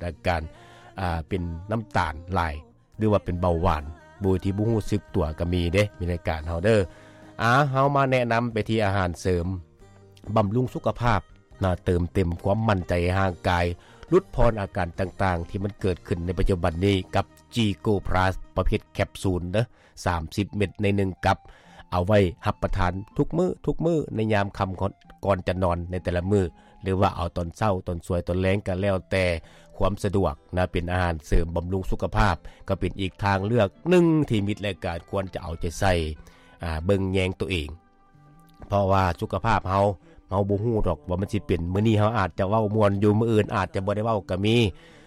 ອາການ ອ່າ ເປັນນ້ຳຕານຫຼາຍ ຫຼືວ່າເປັນເບົາຫວານ ໂດຍທີ່ບໍ່ຮູ້ສຶກຕົວກໍມີເດ້ ມີລາຍການເຮົາເດີ. ອາ ເຮົາມາແນະນຳໄປທີ່ອາຫານເສີມບຳລຸງສຸຂະພາບນະ ເຕີມເຕັມຄວາມໝັ້ນໃຈໃຫ້ຮ່າງກາຍ ຫຼຸດຜ່ອນອາການຕ່າງໆ ທີ່ມັນເກີດຂຶ້ນໃນປັດຈຸບັນນີ້ ກັບ G Go Plus ປະເພດແຄບຊູນເດີ ສາມສິບເມັດໃນໜຶ່ງກັບ ເອົາໄວ້ຮັບປະທານທຸກມື້ ທຸກມື້ໃນຍາມຄ່ຳກ່ອນ ກ່ອນຈະນອນໃນແຕ່ລະມື້ ຫຼືວ່າເອົາຕອນເຊົ້າ ຕອນສວຍ ຕອນແລງ ກໍແລ້ວແຕ່ຄວາມສະດວກນະ. ເປັນອາຫານເສີມບຳລຸງສຸຂະພາບ ກໍເປັນອີກທາງເລືອກໜຶ່ງທີ່ມິດລາຍການຄວນຈະເອົາໃຈໃສ່ ອາ ເບິ່ງແຍງຕົວເອງ ເພາະວ່າສຸຂະພາບເຮົາ ເຮົາບໍ່ຮູ້ດອກວ່າມັນຊິເປັນ ມື້ນີ້ເຮົາອາດຈະເວົ້າມ່ວນຢູ່ ມື້ອື່ນອາດຈະບໍ່ໄດ້ເວົ້າກໍມີ.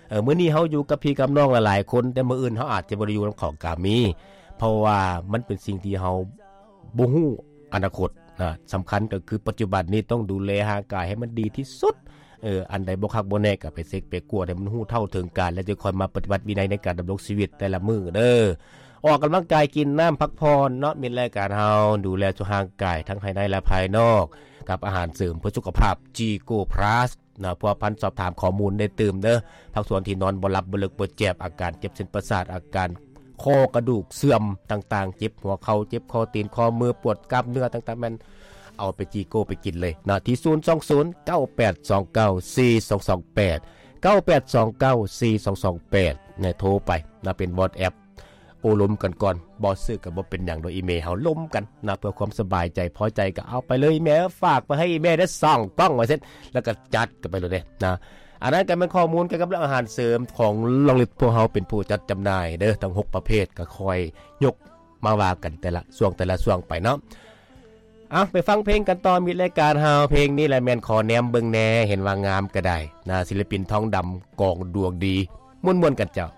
ເອີ ມື້ນີ້ເຮົາຢູ່ກັບພີ່ກັບນ້ອງຫຼາຍໆຄົນ ແຕ່ມື້ອື່ນເຮົາອາດຈະບໍ່ໄດ້ຢູ່ນຳເຂົາກໍມີ ເພາະວ່າມັນເປັນສິ່ງທີ່ເຮົາບໍ່ຮູ້ອະນາຄົດນະ. ສຳຄັນກໍຄືປັດຈຸບັນນີ້ຕ້ອງດູແລຮ່າງກາຍໃຫ້ມັນດີທີ່ສຸດ. ເອີ ອັນໃດບໍ່ຄັກບໍ່ແນ່ກໍໄປເຊັກໄປກວດໃຫ້ມັນຮູ້ເທົ່າເຖິງການ ແລ້ວຈຶ່ງຄ່ອຍມາປະຕິບັດວິໄນໃນການດຳລົງຊີວິດແຕ່ລະມື້ເດີ. ອອກກຳລັງກາຍ ກິນນ້ຳ ພັກຜ່ອນເນາະ ມິດລາຍການເຮົາ ດູແລສຸຂະພາບຮ່າງກາຍທັງພາຍໃນ ແລະ ພາຍນອກ ກັບອາຫານເສີມເພື່ອສຸຂະພາບ G Go Plus ນະ. ພົວພັນສອບຖາມຂໍ້ມູນໄດ້ຕື່ມເດີ ພາກສ່ວນທີ່ນອນບໍ່ຫຼັບ ບໍ່ເລິກ ບໍ່ແຈບ ອາການເຈັບເສັ້ນປະສາດ ອາການ ຂໍ້ກະດູກເສື່ອມຕ່າງໆ ເຈັບຫົວເຂົ່າ ເຈັບຂໍ້ຕີນ ຂໍ້ມື ປວດກ້າມເນື້ອຕ່າງໆ ແມ່ນເອົາໄປ G Go ໄປກິນເລີຍນະ ທີ່ ສູນສອງສູນ ເກົ້າແປດສອງເກົ້າ ສີ່ສອງສອງແປດ ເກົ້າແປດສອງເກົ້າ ສີ່ສອງສອງແປດ ນະ ໂທໄປນະ ເປັນ WhatsApp ໂອ້ລົມກັນກ່ອນ ບໍ່ຊື້ກໍບໍ່ເປັນຫຍັງ ໂດຍອີເມເຮົາລົມກັນນະ ເພື່ອຄວາມສະບາຍໃຈ ພໍໃຈກໍເອົາໄປເລີຍ ແມ່ຝາກໄປໃຫ້ອີເມເດີ ສອງກ່ອງ ວ່າຊັ້ນ ແລ້ວກໍຈັດກັນໄປໂລດເດ້ນະ. ອັນນັ້ນກໍແມ່ນຂໍ້ມູນກ່ຽວກັບເລື່ອງອາຫານເສີມຂອງລອງລິດ ພວກເຮົາເປັນຜູ້ຈັດຈຳໜ່າຍເດີ ທັງຫົກປະເພດ ກໍຄ່ອຍຍົກມາວ່າກັນແຕ່ລະຊ່ວງ ແຕ່ລະຊ່ວງໄປເນາະ. ເອົາ ໄປຟັງເພງກັນຕໍ່ ມິດລາຍການເຮົາ ເພງນີ້ແຫຼະແມ່ນຂໍແນມເບິ່ງແດ່ ເຫັນວ່າງາມກໍໄດ້ນະ ສິລະປິນທອງດຳ ກອງດວງດີ ມ່ວນໆກັນເຈົ້າ.